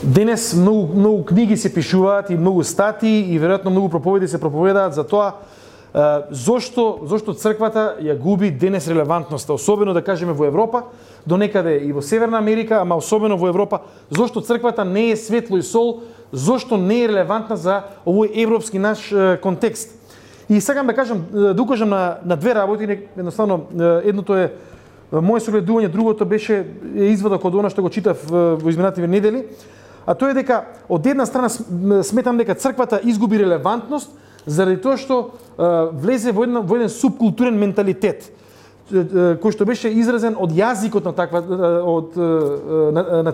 Денес многу книги се пишуваат и многу статии и веројатно многу проповеди се проповедаат за тоа зошто црквата ја губи денес релевантноста, особено да кажеме во Европа, до некаде и во Северна Америка, ама особено во Европа, зошто црквата не е светло и сол, зошто не е релевантна за овој европски наш контекст. И сакам да кажам, да укажам на две работи, едноставно едното е моје согледување, другото беше извадок од она што го читав во изминативе недели, а тоа е дека од една страна сметам дека црквата изгуби релевантност заради тоа што влезе во еден субкултурен менталитет кој што беше изразен од јазикот на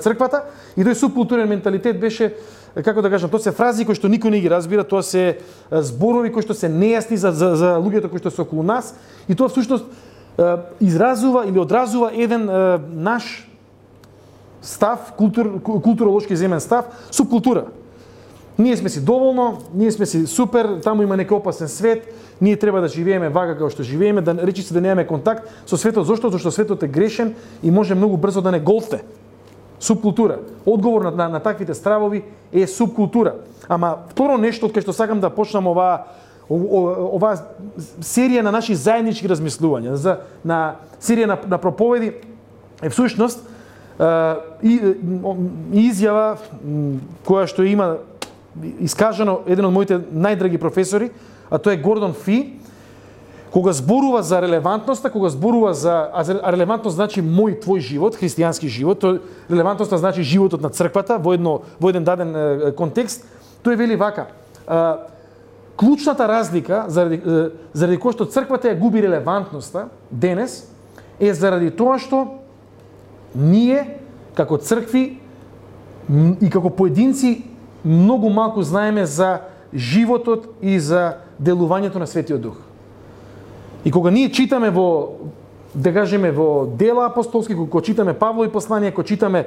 црквата, и тој субкултурен менталитет беше, како да кажам, тоа се фрази кои што никој не ги разбира, тоа се зборови кои што се нејасни за луѓето кои што се околу нас, и тоа всушност изразува или одразува еден наш став, културолошки земен став, субкултура. Ние сме си доволно, ние сме си супер, таму има некој опасен свет, ние треба да живееме вака како што живееме, да речи се да немаме контакт со светот. Зошто? Зашто светот е грешен и може многу брзо да не голте. Субкултура. Одговор на таквите стравови е субкултура. Ама второ нешто од кај што сакам да почнам оваа серија на наши заеднички размислувања, на серија на проповеди е всушност изјава која што има искажано еден од моите најдраги професори, а тоа е Гордон Фи, кога зборува за релевантноста, а релевантност значи мој твој живот, христијански живот, релевантноста значи животот на црквата во еден даден контекст, тој вели вака: клучната разлика заради која што црквата ја губи релевантноста денес е заради тоа што ние како цркви и како поединци многу малку знаеме за животот и за делувањето на Светиот Дух. И кога ние читаме да кажеме во дела апостолски, кога читаме Павлови посланија, кога читаме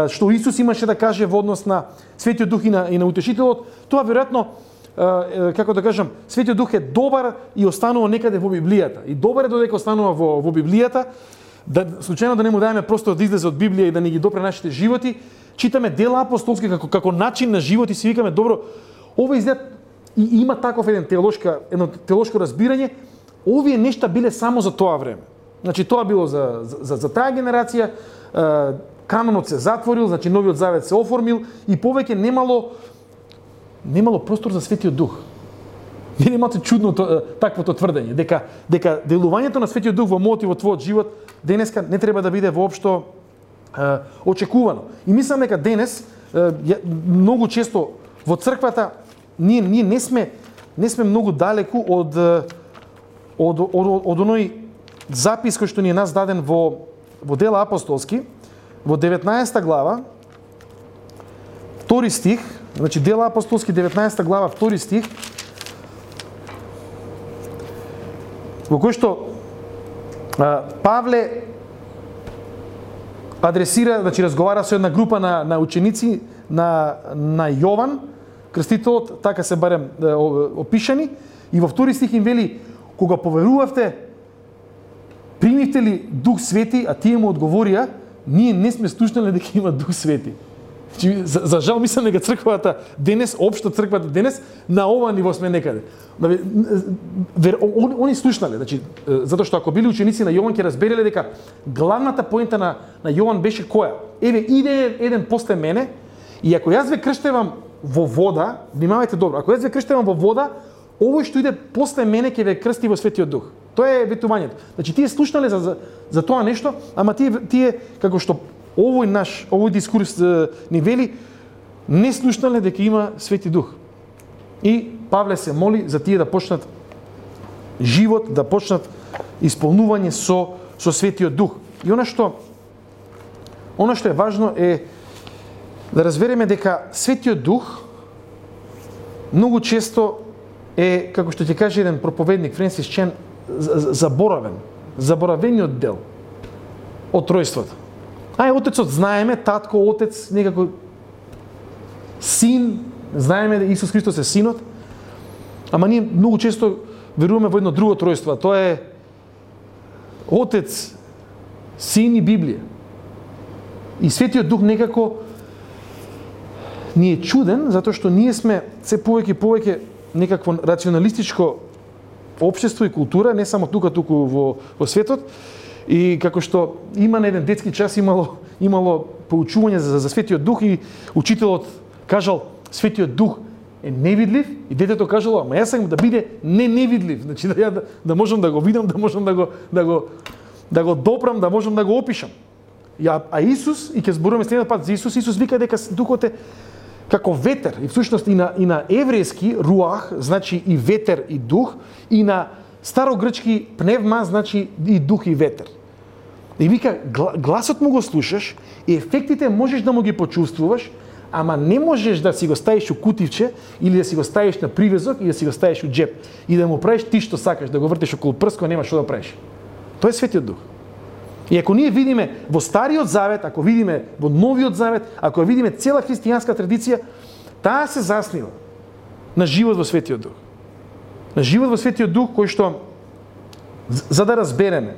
што Исус имаше да каже во однос на Светиот Дух и на Утешителот, тоа веројатно, како да кажам, Светиот Дух е добар и останува некаде во Библијата. И добар е додека останува во Библијата, случајно да не му даеме просто да излезе од Библија и да ни ги допре нашите животи. Читаме дела апостолски како начин на живот и си викаме: добро, ова изгледа и има таков едно теолошко разбирање. Овие нешта биле само за тоа време. Значи тоа било за таа генерација, канонот се затворил, значи Новиот Завет се оформил и повеќе немало простор за Светиот Дух. Не имате чудно таквото тврдење, дека делувањето на Светиот Дух во мојот и во твојот живот денеска не треба да биде воопшто очекувано. И мислам дека денес многу често во црквата ние не сме многу далеку од оној запис кој што ни е нас даден во дела апостолски, во 19 глава, 2 стих, значи дела апостолски 19 глава, 2 стих, во кој што Павле адресира, значи разговара со една група на ученици на Јован Крстителот, така се барем опишани, и во 2 стих им вели: кога поверувавте, примивте ли Дух Свети? А тие му одговорија: ние не сме слушнале дека има Дух Свети. За жал мислам дека црквата денес, општа црквата денес, на ова ниво сме некаде. Они слушнале, значи, затоа што ако били ученици на Јован ќе разбереле дека главната поента на Јован беше која? Еве, иде еден после мене, и ако јас ве крштевам во вода, внимавајте добро, ако јас ве крштевам во вода, овој што иде после мене ќе ве крсти во Светиот Дух. Тоа е ветувањето. Значи тие слушнале за тоа нешто, ама тие како што овој дискурс ни вели, не слушнале дека има Свети Дух. И Павле се моли за тие да почнат живот, да почнат исполнување со Светиот Дух. И она што е важно е да разбереме дека Светиот Дух многу често е, како што ќе каже еден проповедник, Френсис Чен, заборавениот дел од тројството. Отецот знаеме, татко, отец, некако син, знаеме дека Исус Христос е синот, ама ние многу често веруваме во едно друго тројство, тоа е Отец, Син и Библија. И Светиот Дух некако ни е чуден затоа што ние сме се повеќе и повеќе некакво рационалистичко општество и култура, не само туку во светот. И како што има на еден детски час имало поучување за Светиот Дух и учителот кажал Светиот Дух е невидлив и детето кажало, ама јас сакам да биде невидлив, значи да можам да го видам, да можам да го допрам, да можам да го опишам. А Исус, и ќе зборуваме следниот пат за Исус вика дека Духот е како ветер, и всушност и на еврејски руах значи и ветер и дух, и на старогрчки пневма значи и дух и ветер. И вика, гласот му го слушаш, и ефектите можеш да му ги почувствуваш, ама не можеш да си го ставиш у кутивче, или да си го ставиш на привезок, и да си го ставиш у джеп, и да му правиш ти што сакаш, да го вртиш околу прско, нема што да правиш. Тоа е Светиот Дух. И ако ние видиме во Стариот Завет, ако видиме во Новиот Завет, ако видиме цела христијанска традиција, таа се заснива на живот во Светиот Дух. На живот во Светиот Дух, кој што, за да разбереме,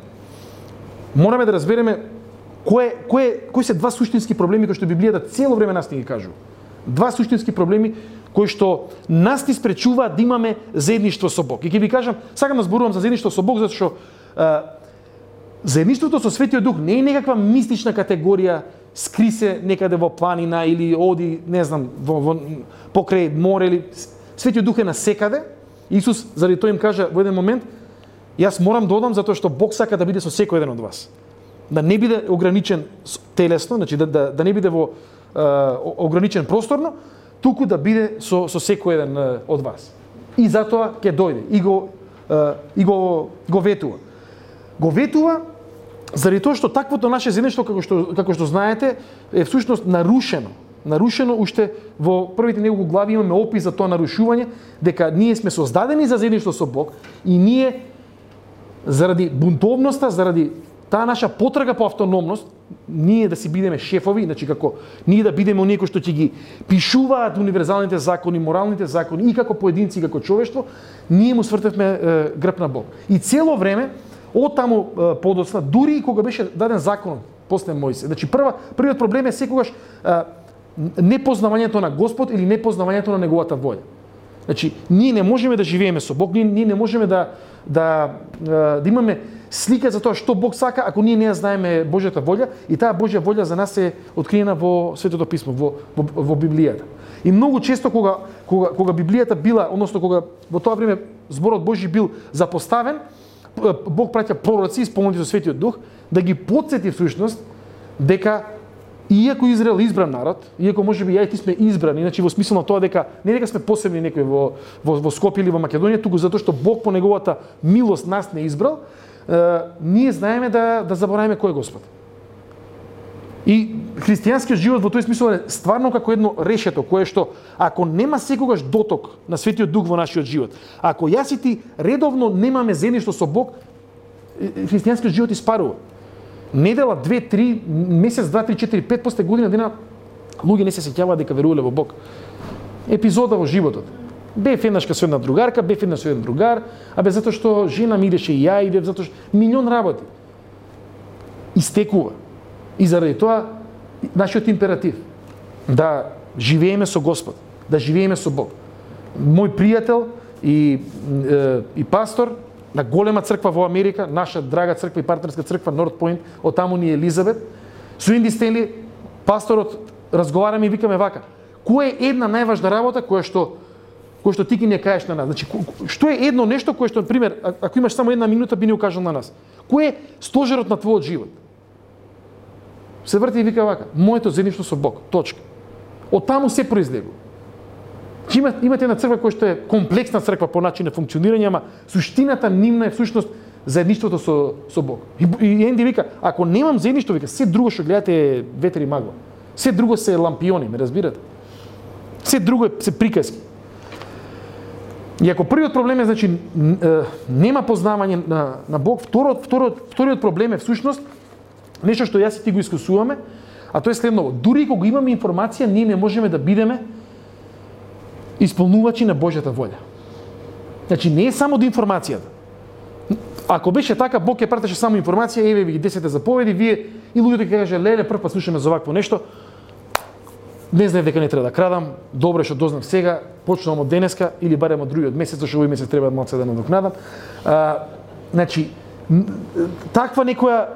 мораме да разбереме кои се два суштински проблеми кои што Библијата цело време нас ни ги кажува. Два суштински проблеми кои што нас ни спречуваат да имаме заедништво со Бог. И ќе ви кажам, сакам да зборувам за заедништво со Бог, затоа што заедништвото со Светиот Дух не е некаква мистична категорија, скри се некаде во планина или оди, не знам, покрај море или Светиот Дух е насекаде. Исус заради тоа им кажа во еден момент, јас морам да одам затоа што Бог сака да биде со секој еден од вас. Да не биде ограничен телесно, значи да не биде во ограничен просторно, туку да биде со секој еден од вас. И затоа ќе дојде и го ветува. Го ветува заради тоа што таквото наше заедништво, како што знаете, е всушност нарушено. Нарушено уште во првите неколку глави имаме опис за тоа нарушување, дека ние сме создадени за заедништво со Бог и ние заради бунтовноста, заради таа наша потрага по автономност, ние да си бидеме шефови, значи како ние да бидеме оние кои што ќе ги пишуваат универзалните закони, моралните закони и како поединци и како човештво, ние му свртевме грб на Бог. И цело време од таму подоцна, дури и кога беше даден закон после Мојсе. Значи првиот проблем е секогаш непознавањето на Господ или непознавањето на неговата волја. Значи ние не можеме да живееме со Бог, ние не можеме да имаме слика за тоа што Бог сака ако ние не ја знаеме Божјата волја, и таа Божја волја за нас е откриена во Светото писмо, во Библијата. И многу често кога Библијата била, односно кога во тоа време зборот Божји бил запоставен, Бог праќа пророци исполнети со Светиот Дух да ги потсети всушност дека иако Израел избран народ, иако можеби ја и ти сме избрани, значи во смисла на тоа дека не дека сме посебни некои во Скопје или во Македонија, туку затоа што Бог по неговата милост нас не избрал, ние знаеме да забораваме кој е Господ. И христијанскиот живот во тој смисол е стварно како едно решето, кое што ако нема секогаш доток на Светиот Дух во нашиот живот, ако јас и ти редовно немаме заедништво со Бог, христијанскиот живот испарува. Недела, 2, 3, месец, 2, 3, 4, 5 после година дена луѓе не се сеќаваат дека верувале во Бог. Епизода во животот. Бев еднашка со една другарка, бев еднаш со еден другар, затоа што жена ми идеше и ја идев, затоа што милион работи. Истекува. И заради тоа нашиот императив да живееме со Господ, да живееме со Бог. Мој пријател и пастор на голема црква во Америка, наша драга црква и партнерска црква North Point, од таму ни Елизабет, со Инди Стенли, пасторот, разговараме и викаме вака: кој е една најважна работа која што ти ги не кажеш на нас? Значи, што е едно нешто кое што, например, ако имаш само една минута, би ни укажал на нас? Кој е стожерот на твојот живот? Се врти и вика вака: моето заедништво со Бог. Точка. Од таму се произлегува. Имате една црква која што е комплексна црква по начин на функционирање, ама суштината нивна е всушност заедништвото со Бог. И Енди вика: ако немам заедништво, вика, се друго што гледате е ветер и магла. Се друго се лампиони, ме разбирате? Се друго се приказки. И ако првиот проблем е, значи, нема познавање на Бог, вториот проблем е всушност нешто што јас и ти го искусуваме, а тоа е следново: дури кога имаме информација, ние не можеме да бидеме исполнувачи на Божјата волја. Значи не е само до информацијата. Ако беше така, Бог ќе пратеше само информација, еве ви ги 10 заповеди, вие и луѓето ќе кажа: леле, прв пат слушаме за вакво нешто. не знаев дека не треба да крадам, добре што дознав сега, почнувам од денеска или барем од другиот месец, зашто овој месец треба малку да надокнадам. Значи, таква некоја,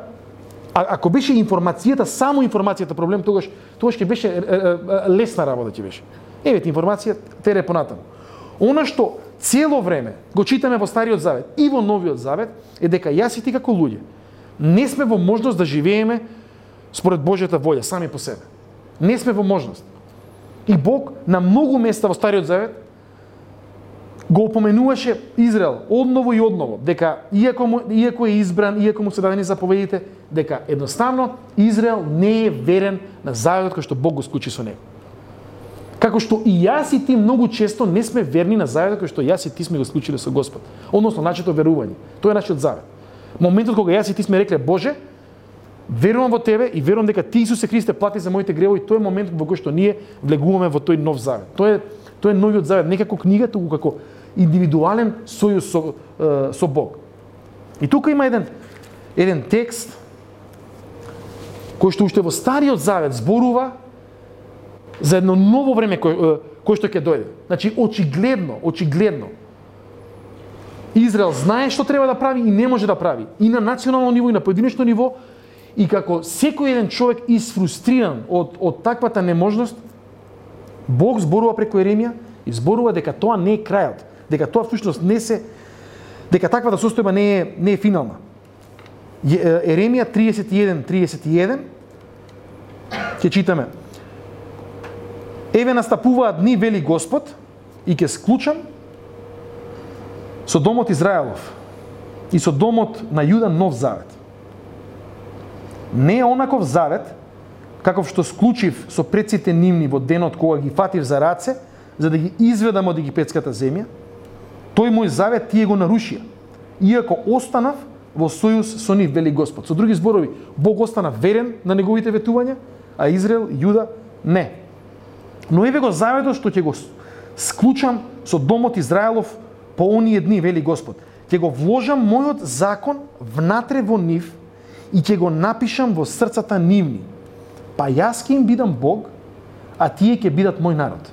ако беше информацијата, само информацијата проблем, тогаш ќе беше лесна работа ќе беше. Евете информација, тере понатаму. Она што цело време го читаме во Стариот Завет и во Новиот Завет е дека јас и ти како луѓе не сме во можност да живееме според Божјата волја сами по себе. Не сме во можност. И Бог на многу места во Стариот Завет го опоменуваше Израел одново и одново, дека иако е избран, иако му се дадени заповедите, дека едноставно Израел не е верен на заветот кој што Бог го склучи со него. Како што и јас и ти многу често не сме верни на заветот кој што јас и ти сме го склучиле со Господ. Односно нашето верување. Тоа е нашиот завет. Моментот кога јас и ти сме рекле Боже, верувам во тебе и верувам дека ти Исусе Христе плати за моите гревови, тоа е моментот во кој што ние влегуваме во тој нов завет. Тоа е новиот завет, не како книга, туку како индивидуален сојуз со Бог. И тука има еден текст кој што уште во Стариот Завет зборува за едно ново време кој што ќе дојде. Значи очигледно Израел знае што треба да прави и не може да прави. И на национално ниво, и на поединечно ниво. И како секој еден човек изфрустриран од таквата неможност, Бог зборува преку Еремија и зборува дека тоа не е крајот. Дека тоа всушност дека таквата состојба не е финална. Еремија 31:31 ќе читаме. Еве настапуваат дни, вели Господ, и ќе склучам со домот Израелов и со домот на Јуда нов завет. Не е онаков завет, каков што склучив со предците нивни во денот кога ги фатив за раце, за да ги изведам од египетската земја. Тој мој завет тие го нарушија, иако останав во сојуз со нив, вели Господ. Со други зборови, Бог остана верен на неговите ветувања, а Израел, Јуда, не. Но еве го заветот што ќе го склучам со домот Израелов по оние дни, вели Господ. Ќе го вложам мојот закон внатре во нив и ќе го напишам во срцата нивни. Па јас ќе им бидам Бог, а тие ќе бидат мој народ.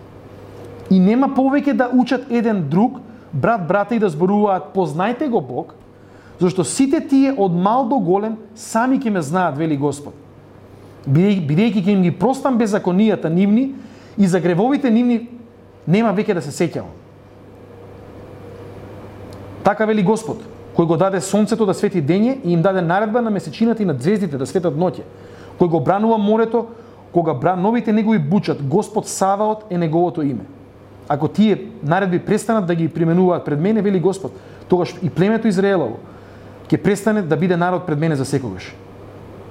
И нема повеќе да учат еден друг, брата и да зборуваат познајте го Бог, зашто сите тие од мал до голем сами ќе ме знаат, вели Господ. Бидејќи ќе им ги простам беззаконијата нивни и за гревовите нивни нема веќе да се сеќавам. Така вели Господ, кој го даде сонцето да свети дење и им даде наредба на месечината и на звездите да светат ноќе, кој го бранува морето, кога новите негови бучат, Господ Саваот е неговото име. Ако тие наредби престанат да ги применуваат пред мене, вели Господ, тогаш и племето Израелово ќе престане да биде народ пред мене за секогаш.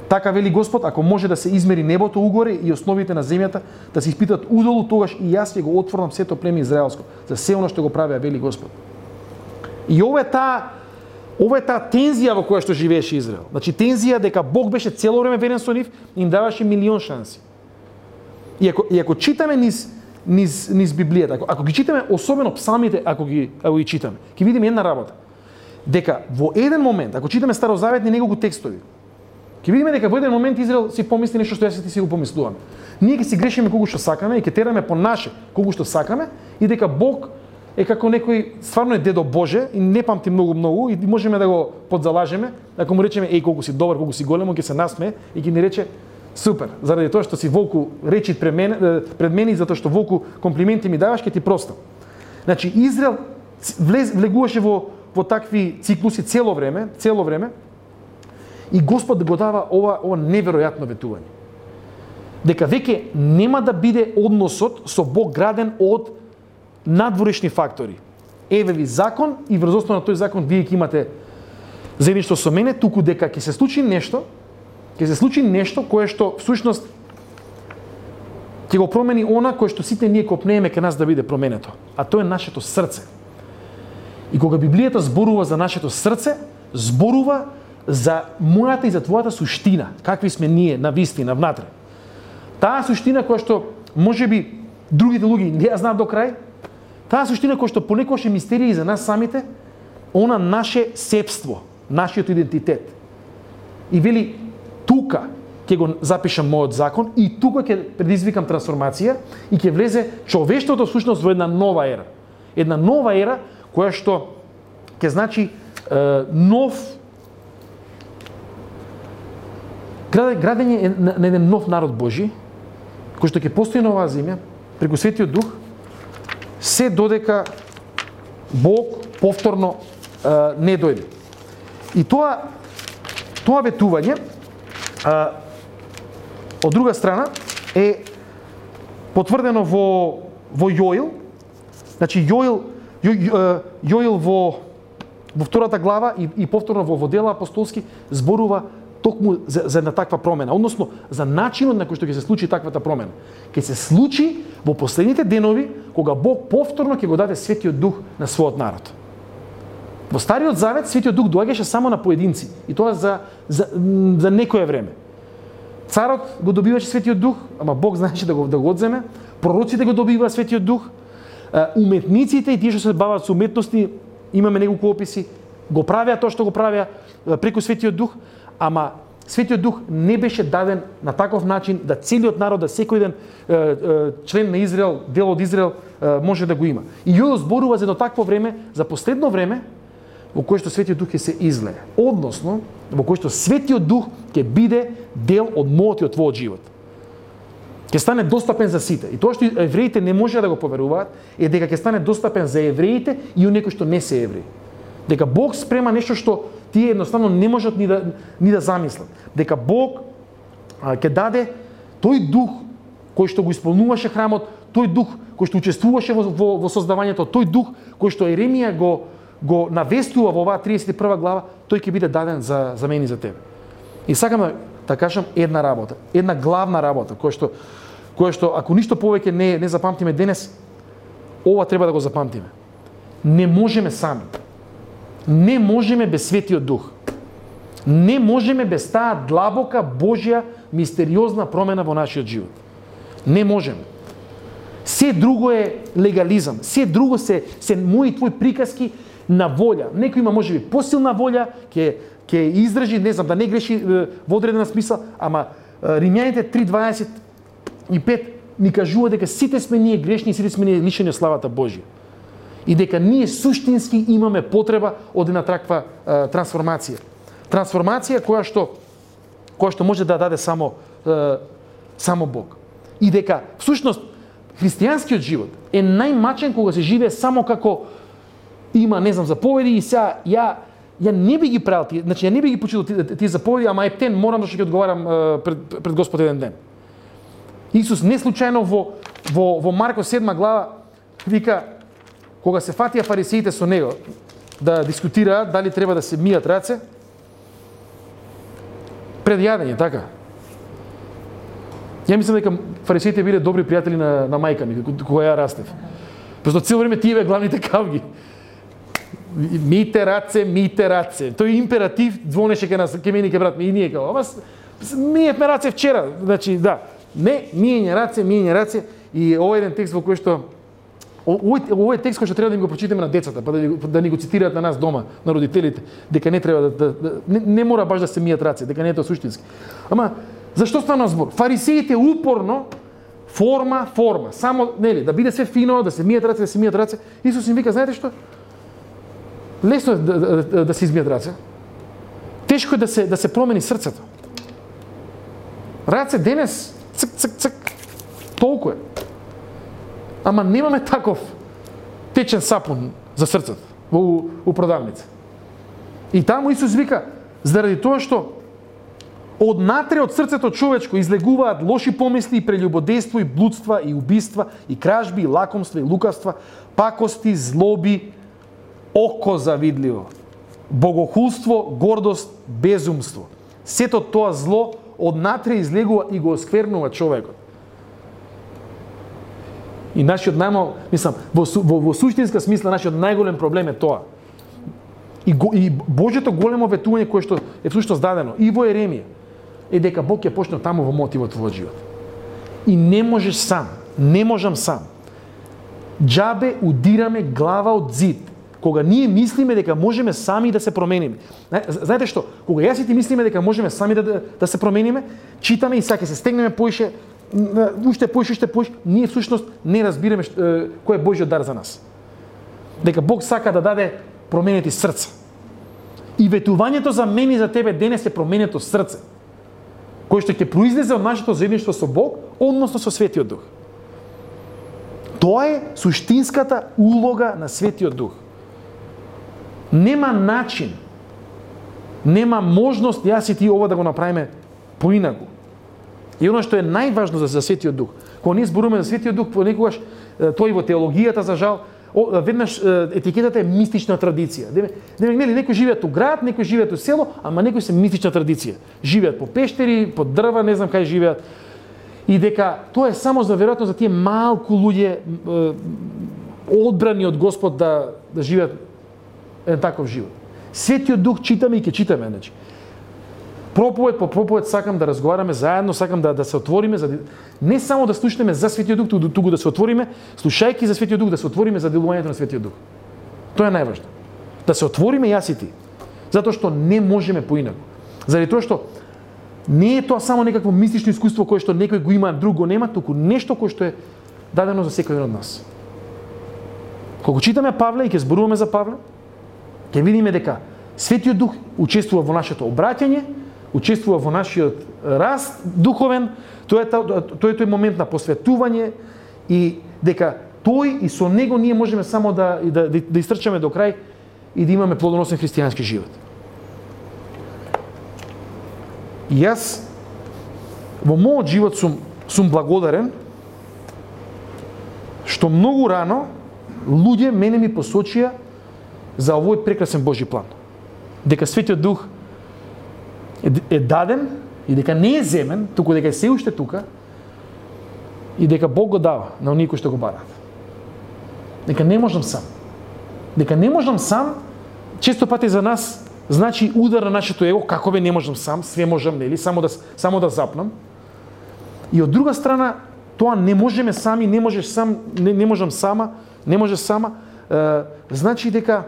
Така вели Господ, ако може да се измери небото угоре и основите на земјата, да се испитат удолу, тогаш и јас ќе го отворам сето племе израелско, за се оно што го правеа, вели Господ. И ова е таа тензија во која што живееше Израел. Значи тензија дека Бог беше цело време верен со нив и им даваше милион шанси. И ако читаме низ Библијата, ако ги читаме особено псалмите, ако ги читаме, ќе видиме една работа. Дека во еден момент, ако читаме старозаветни неколку текстови, ќе видиме дека во еден момент Израел си помисли нешто што јас и ти си го помислуваме. Ние ќе си грешиме колку што сакаме и ќе тераме по наше колку што сакаме и дека Бог е како некој, стварно е дедо Боже и не памти многу и можеме да го подзалажеме, ако му речеме еј колку си добар, колку си голем, он ќе се насмее и ќе ни рече супер, заради тоа што си волку речит пред мене и затоа што волку комплименти ми даваш, ќе ти простам. Значи Израел влегуваше во такви циклуси цело време и Господ го дава ова неверојатно ветување. Дека веќе нема да биде односот со Бог граден од надворешни фактори. Еве ви закон и врз основа на тој закон вие ќе имате заедништво со мене, туку дека ќе се случи нешто кое што всушност ќе го промени она кое што сите ние копнееме кај нас да биде променето, а тоа е нашето срце. И кога Библијата зборува за нашето срце, зборува за мојата и за твојата суштина, какви сме ние на вистина внатре. Таа суштина која што можеби другите луѓе не ја знаат до крај, таа суштина која што понекогаш е мистерија и за нас самите, она наше сепство, нашиот идентитет. И вели тука, ќе го запишам мојот закон и тука ќе предизвикам трансформација и ќе влезе човештвото всушност во една нова ера. Една нова ера која што ќе значи нов градење на еден нов народ Божи, кој што ќе постои на оваа земја преку Светиот Дух, се додека Бог повторно не дојде. И тоа ветување од друга страна е потврдено во Јоил. Значи Јоил во втората глава и повторно во Дела апостолски зборува токму за една таква промена, односно за начинот на кој што ќе се случи таквата промена. Ќе се случи во последните денови кога Бог повторно ќе го даде Светиот Дух на својот народ. Во Стариот Завет Светиот Дух доаѓаше само на поединци и тоа за некое време. Царот го добиваше Светиот Дух, ама Бог знаеше да го одземе, пророците го добиваа Светиот Дух, уметниците и тие што се бават со уметности, имаме неколку описи, го правеа тоа што го правеа преку Светиот Дух, ама Светиот Дух не беше даден на таков начин да целиот народ, да секој ден член на Израел, дел од Израел може да го има. И Јоел зборува за едно такво време, за последно време, во кое што Светиот Дух ќе се излее. Односно, во кое што Светиот Дух ќе биде дел од мојот и од твојот живот. Ќе стане достапен за сите. И тоа што евреите не можеа да го поверуваат е дека ќе стане достапен за евреите и оние кои што не се евреи. Дека Бог спрема нешто што тие едноставно не можат ни да замислат. Дека Бог ќе даде тој дух кој што го исполнуваше храмот, тој дух кој што учествуваше во создавањето, тој дух кој што Еремија го навестува во оваа 31 глава, тој ќе биде даден за мене и за тебе. И сакам да кажам една работа, една главна работа, која што ако ништо повеќе не запамтиме денес, ова треба да го запамтиме. Не можеме сами. Не можеме без Светиот Дух. Не можеме без таа длабока Божја мистериозна промена во нашиот живот. Не можеме. Се друго е легализам. Се друго се мои твои приказки на волја. Некој има можеби посилна волја, ќе издржи, не знам, да не греши во одредена смисла, ама Римјаните 3:25 ни кажува дека сите сме ние грешни и сите сме ние лишени од славата Божја. И дека ние суштински имаме потреба од една таква трансформација. Трансформација која што може да даде само Бог. И дека всушност христијанскиот живот е најмачен кога се живее само како има, не знам, заповеди и сега ја не би ги правил тие, значи ја не би ги почитал тие заповеди, ама ептен морам што ќе одговарам пред Господ еден ден. Исус не случајно во Марко 7 глава вика кога се фатија фарисеите со него да дискутираат дали треба да се мијат раце пред јадење, така. Ја мислам дека фарисеите биле добри пријатели на мајка ми кога ја растев. Просто цело време тие бе главните кавги. Мијте раце, мијте раце. Тој императив звонеше ке мене ке брат ми и ние као, ама мијевме раце вчера. Значи, да, не, мијење раце и овој еден текст во кој што овој текст кој што треба да им го прочитаме на децата, па да ни го цитираат на нас дома, на родителите, дека не треба не мора баш да се мијат раце, дека не е тоа суштински. Ама зашто стана збор? Фарисеите упорно форма, само нели да биде све фино, да се мијат раце. Исус им вика, знаете што? Лесно е да се измијат раце. Тешко е да се промени срцето. Раце денес цк, толку е. Ама немаме таков течен сапун за срцето у продавница. И таму Исус вика, заради тоа што однатре од срцето човечко излегуваат лоши помисли и прелюбодејство и блудства и убиства и кражби и лакомства и лукавства, пакости, злоби, око завидливо, богохулство, гордост, безумство. Сето тоа зло однатре излегува и го осквернува човекот. И нашиот во суштинска смисла нашиот најголем проблем е тоа. И Божјото големо ветување кое што е всушност дадено и во Еремија е дека Бог ќе почне таму во мојот и во твојот живот. И не можеш сам, не можам сам. Џабе удираме глава од зид кога ние мислиме дека можеме сами да се промениме. Знаете што? Кога јас и ти мислиме дека можеме сами да се промениме, читаме и саќе се стегнеме поише, уште поише, ние всушност не разбираме кој е Божјиот дар за нас. Дека Бог сака да даде променети срца. И ветувањето за мене и за тебе денес е променето срце, кој што ќе произлезе од нашето заедништво со Бог, односно со Светиот Дух. Тоа е суштинската улога на Светиот Дух. Нема начин, нема можност јас и ти ова да го направиме поинаку. И оно што е најважно за Светиот Дух, кога ние зборуваме за Светиот Дух, понекогаш тоа и во теологијата за жал, веднаш етикетата е мистична традиција. Нели некои живеат у град, некои живеат у село, ама некои се мистична традиција. Живеат по пештери, по дрва, не знам кај живеат. И дека тоа е само за веројатно за тие малку луѓе одбрани од Господ да живеат еден таков живот. Светиот Дух читаме и ќе читаме, значи. Проповед по проповед сакам да разговараме заедно, сакам да се отвориме за не само да слушнеме за Светиот Дух, туку да се отвориме, слушајќи за Светиот Дух, да се отвориме за делувањето на Светиот Дух. Тоа е најважно. Да се отвориме јас и ти. Затоа што не можеме поинаку. Заради тоа што не е тоа само некакво мистично искуство кое што некој го има, друг го нема, туку нешто кое што е дадено за секој од нас. Кога читаме Павле и ќе зборуваме за Павле, ќе видиме дека Светиот Дух учествува во нашето обраќање, учествува во нашиот раст духовен, тоа е тој момент на посветување и дека тој и со него ние можеме само да истрчаме до крај и да имаме плодоносен христијански живот. И јас во мојот живот сум благодарен што многу рано луѓе мене ми посочија за овој прекрасен Божји план. Дека Светиот Дух е даден и дека не е земен, туку дека е се уште тука и дека Бог го дава на оние кои што го бараат. Дека не можам сам. Дека не можам сам, често пати за нас значи удар на нашето его, како бе не можам сам, све можам, нели, само да запнам. И од друга страна, тоа не можеме сами, не можеш сам, не можам сама, не можеш сама, значи дека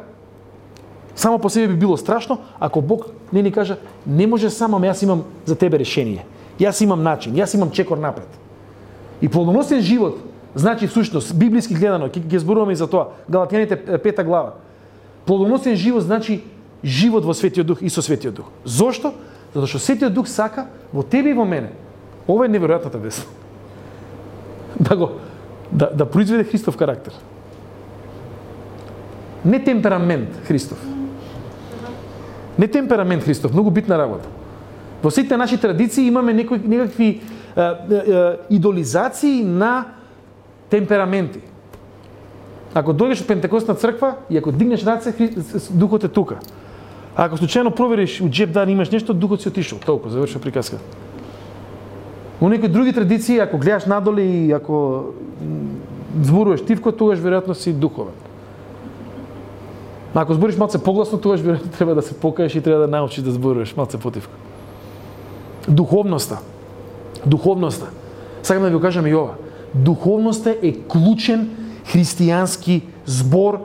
само по себе би било страшно, ако Бог не ни кажа, не може само, ама јас имам за тебе решение. Јас имам начин, јас имам чекор напред. И плодоносен живот, значи всушност, библиски гледано, ќе зборуваме и за тоа, Галатјаните 5 глава. Плодоносен живот значи живот во Светиот Дух и со Светиот Дух. Зошто? Затоа што Светиот Дух сака во тебе и во мене. Ова е неверојатната вест. Да произведе Христов карактер. Не темперамент Христов. Не темперамент Христов, многу битна работа. Во сите наши традиции имаме некакви идолизации на темпераменти. Ако дојдеш во Пентекостна црква и ако дигнеш раце, духот е тука. А ако случајно провериш у џеб да имаш нешто, духот си отишол. Толку, завршува приказка. Во некои други традиции, ако гледаш надоле и ако зборуваш тивко, тогаш веројатно си духовен. Ако збориш малце погласно, тогаш веројатно треба да се покаеш и треба да научиш да зборуваш малце потивко. Духовноста. Сакам да ви го кажам и ова. Духовноста е клучен христијански збор,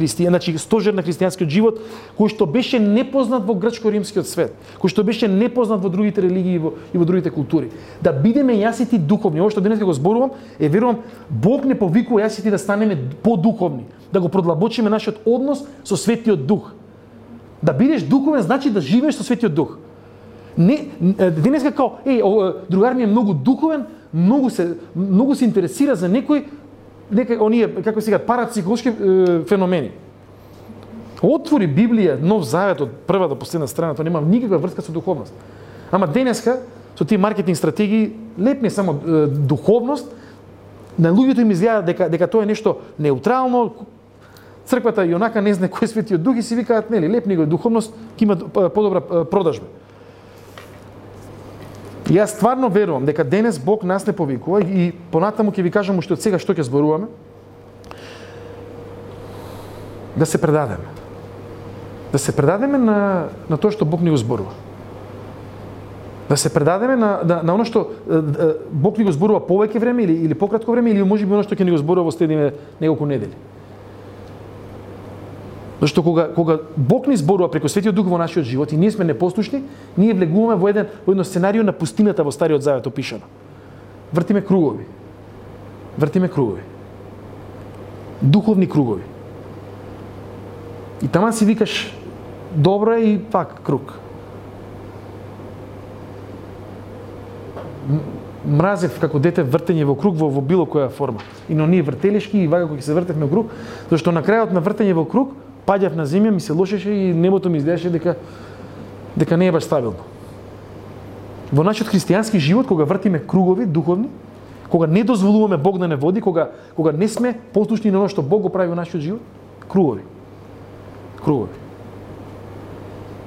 значи стожер на христијанскиот живот, кој што беше непознат во грчко-римскиот свет, кој што беше непознат во другите религии и во другите култури. Да бидеме јас и ти духовни. Ова што денес го зборувам, верувам, Бог не повикува јас и ти да станеме подуховни, да го продлабочиме нашиот однос со Светиот Дух. Да бидеш духовен значи да живееш со Светиот Дух. Не, денеска као, другар ми е многу духовен, многу се интересира за некои оние, како се кажат, парапсихолошки феномени. Отвори Библија, Нов Завет од прва до последна страна, тоа нема никаква врска со духовност. Ама денеска, со тие маркетинг стратегии, лепни само духовност, на луѓето им изгледа дека тоа е нешто неутрално, црквата и онака не знае кој е Светиот Дух и си викаат, нели, лепни го духовност, ќе има подобра продажба. Јас стварно верувам дека денес Бог нас не повикува и понатаму ќе ви кажам уште од сега што ќе зборуваме. Да се предадеме. Да се предадеме на тоа што Бог ни го зборува. Да се предадеме на оно што Бог ни го зборува повеќе време или пократко време или можеби оно што ќе ни го зборува во следните неколку недели. Зашто кога Бог ни зборува преку Светиот Дух во нашиот живот и ние сме непослушни, ние влегуваме во едно сценарио на пустината во Стариот Завет опишано. Вртиме кругови. Духовни кругови. И таман си викаш добро е и пак круг. Мразев како дете вртење во круг во било која форма. И но ние вртелешки и вака кога се вртевме во круг, зашто на крајот на вртење во круг паѓав на земја, ми се лошеше и небото ми изгледаше дека не е баш стабилно. Во нашиот христијански живот, кога вртиме кругови духовни, кога не дозволуваме Бог да не води, кога не сме послушни на оно што Бог го прави во нашиот живот, кругови.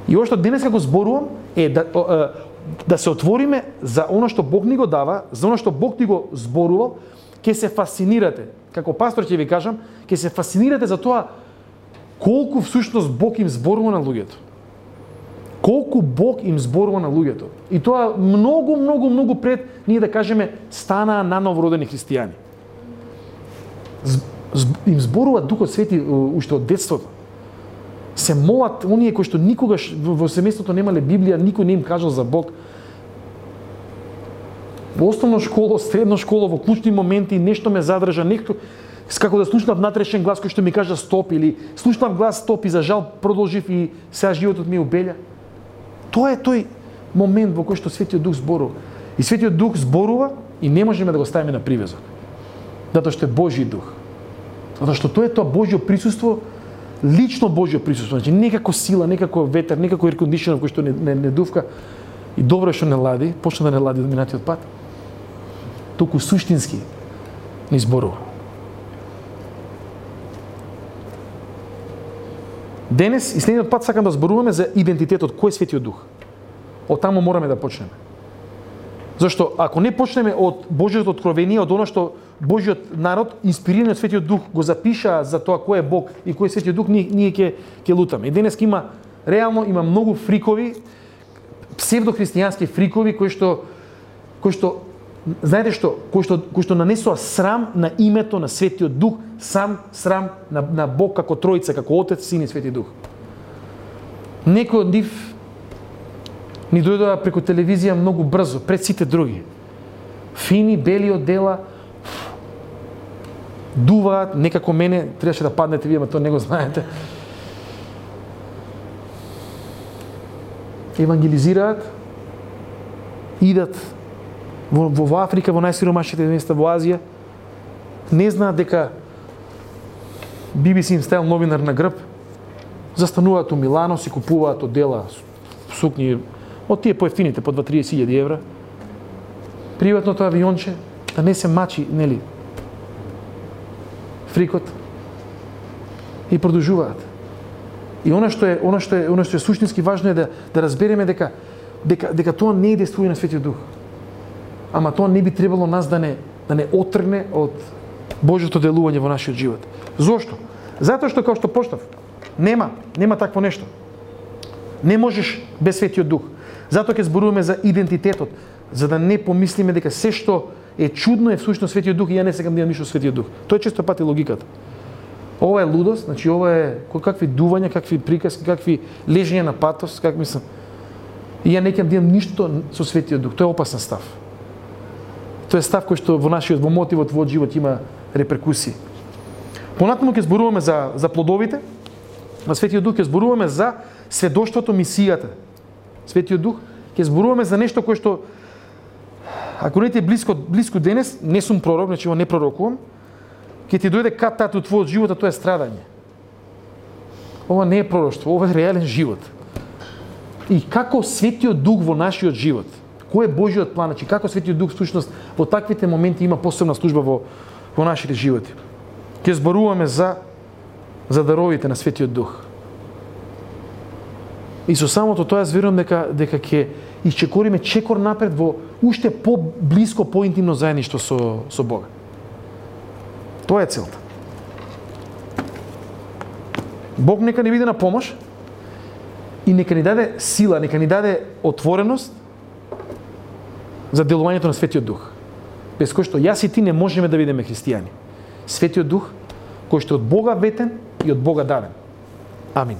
И ова што денес како зборувам е да се отвориме за оно што Бог ни го дава, за оно што Бог ни го зборувал, ќе се фасцинирате. Како пастор ќе ви кажам, ќе се фасцинирате за тоа колку всушност Бог им зборува на луѓето. Колку Бог им зборува на луѓето. И тоа многу пред ние да кажеме станаа наново родени христијани. Им зборува Духот Свети уште од детството. Се молат оние кои што никогаш во семејството немале Библија, никој не им кажал за Бог. Во основна школа, средна школа, во клучни моменти нешто ме задржа, нешто како да слушнав внатрешен глас кој што ми кажа стоп, или слушнав глас стоп и за жал продолжив и сега животот ми убелја. Тоа е тој момент во кој што Светиот Дух зборува. И Светиот Дух зборува и не можеме да го ставиме на привезок. Затоа што е Божји Дух. Затоа што тоа е тоа Божјо присуство, лично Божјо присуство, значи не како сила, не како ветер, не како еркондишнер кој што не дувка и добро што не лади, почна да не лади до минатиот пат. Туку суштински ни зборува. Денес и следниот пат сакам да зборуваме за идентитетот, кој е Светиот Дух. Од таму мораме да почнеме. Зашто ако не почнеме од Божјото откровение, од оно што Божјиот народ, инспириран од Светиот Дух, го запиша за тоа кој е Бог и кој е Светиот Дух, ние ќе лутаме. И денес реално има многу фрикови, псевдохристијански фрикови кои што знаете што, кои што нанесоа срам на името на Светиот Дух, срам на Бог како Тројца, како Отец, Син и Свети Дух. Некој од нив ни дојдоа преку телевизија многу брзо, пред сите други. Фини, бели одела, дуваат, некако мене, требаше да паднете вие, ама тоа не го знаете. Евангелизираат, идат во Африка, во најсиромашните места, во Азија, не знаат дека BBC им ставил новинар на грб, застануваат у Милано, си купуваат одела, сукњи, од тие поевтините, по 2-30 евра, приватното авионче, да не се мачи, нели, фрикот, и продолжуваат. И она што е суштински важно е да разбереме дека тоа не е действување на Светиот Дух. Ама тоа не би требало нас да не отргне од Божјото делување во нашиот живот. Зошто? Затоа што, како што почнав, нема такво нешто. Не можеш без Светиот Дух. Затоа ќе зборуваме за идентитетот, за да не помислиме дека се што е чудно е всушност Светиот Дух и ја не сакам да имам ништо Светиот Дух. Тоа е често пати логиката. Ова е лудост, значи ова е какви дувања, какви приказки, какви лежења на патос, как мислам. И ја не ќе да имам ништо со Светиот Дух. Тоа е опасен став. Тоа е став кој што во мотивот во живот има реперкусии. Понатаму ќе зборуваме за плодовите на Светиот Дух, ќе зборуваме за сведоштвото, мисијата. Светиот Дух, ќе зборуваме за нешто кое што ако не ти е блиско денес, не сум пророк, значи не пророкувам, ќе ти дојде кат-тат од твојот живот, а тоа е страдање. Ова не е пророштво, ова е реален живот. И како Светиот Дух во нашиот живот, кој е Божјиот план, значи како Светиот Дух всушност во таквите моменти има посебна служба во нашите животи. Ќе зборуваме за даровите на Светиот Дух. И со самото тоа јас верувам дека ќе исчекориме чекор напред во уште поблиско, поинтимно заедништво со Бога. Тоа е целта. Бог нека ни биде на помош и нека ни даде сила, нека ни даде отвореност за делувањето на Светиот Дух. Без кој што јас и ти не можеме да бидеме христијани. Светиот Дух, кој што е од Бога ветен и од Бога даден. Амин.